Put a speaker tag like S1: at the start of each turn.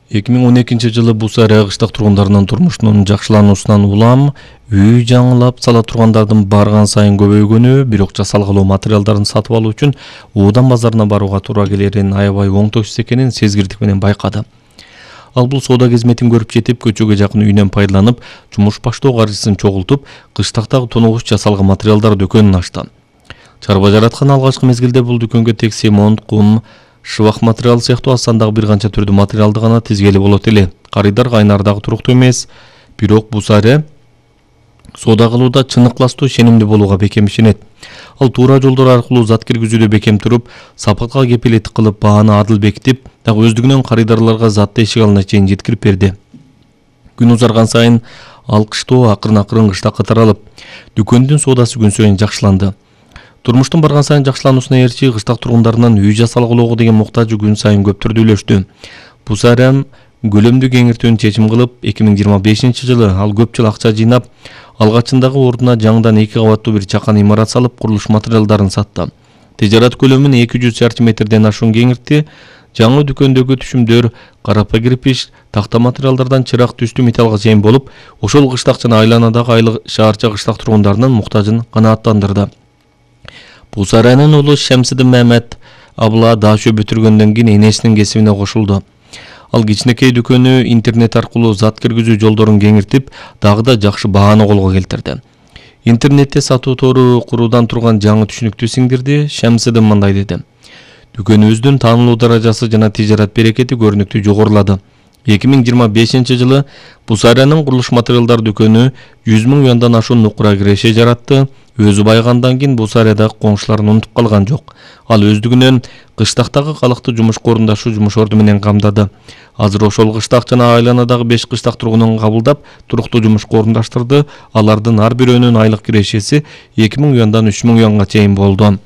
S1: 2012-жылы Бусария кыштак тургундарынын турмушунун жакшылануусунан улам үй жаңылап сала тургандардын барган сайын көбөйгөнү, бирок жасалгылоо материалдарын сатып алуу үчүн уудан базарына барууга туура келерин аябай оңтойсуз экенин сезгирдик менен байкады. Ал бул соода кызметін көрүп жетип, көчөгө жакын үйүнөн пайдаланып, жумуш баштоо каржысын чогултуп, кыштактагы тоногуч жасалган материалдар дүкөнүн ачты. Чарба жараткан алгачкы мезгилде бул дүкөнгө тек семонт, кум, шыбак материал сыяктуу аз сандагы бир канча түрдүү материалды гана тизгели болот эле. Карыйдар кайнардагы туруктуу эмес, бирок Бусария соода кылууда чыныктуу ишенимдүү болууга бекем ишенет. Ал туура жолдор аркылуу зат киргизүүдө бекем туруп, сапатка кепилеттик кылып, бааны адыл бекитип, дагы өздүгүнөн карыйдарларга затты эшик алдына чейин жеткирип берди. Күн узарган сайын ал кыштоо акырын кыштакка таралып, дүкөндүн соодасы күн сайын жакшыланды. Турмуштун барган сайын жакшылануусуна ээрчи кыштак тургундарынын үй жасалгылоого деген муктажы күн сайын көп түрдүүлөштү. Бусария көлөмдү кеңиртүүнү чечим кылып, 2025-жылы ал көп жыл акча жыйнап, алгачындагы ордуна жаңыдан 2 кабаттуу бир чакан имарат салып, курулуш материалдарын сатты. Тижарат көлөмүн 200 шарчы метрден ашуун кеңиртти. Жаңы дүкөндөгү түшүмдөр карапа кирпич, такта материалдардан чырак түстүү металлга чейин болуп, ошол кыштак жана айланадагы айлык шаарча кыштак тургундарынын муктажын канааттандырды. Бусариянын уулу Шемсидин Мехмет абла даашөө бүтүргөндөн кийин энесинин кесибине кошулду. Ал кичинекей дүкөнү интернет аркылуу зат киргизүү жолдорун кеңиртип, дагы да жакшы бааны колго келтирди. Интернетте сатуу тору куруудан турган жаңы түшүнүктү сиңдирди. Шемсидин мындай деди: "Дүкөнүбүздүн таанылуу даражасы жана тижарат берекети көрүнүктүү жогорулады. 2025-жылы Бусариянын курулуш материалдар дүкөнү 100 000 юандан ашуун нукура киреше жаратты. Өзү байыгандан кийин Бусариядагы коңшуларын унутуп калган жок. Ал өздүгүнөн кыштактагы калыкты жумушка орундаштуу жумуш орду менен камдады. Азыр ошол кыштак жана айланадагы 5 кыштак тургунун кабылдап, туруктуу жумушка орундаштырды. Алардын ар бирөөнүн айлык кирешеси 2 000 юандан 3 000 юанга чейин болду.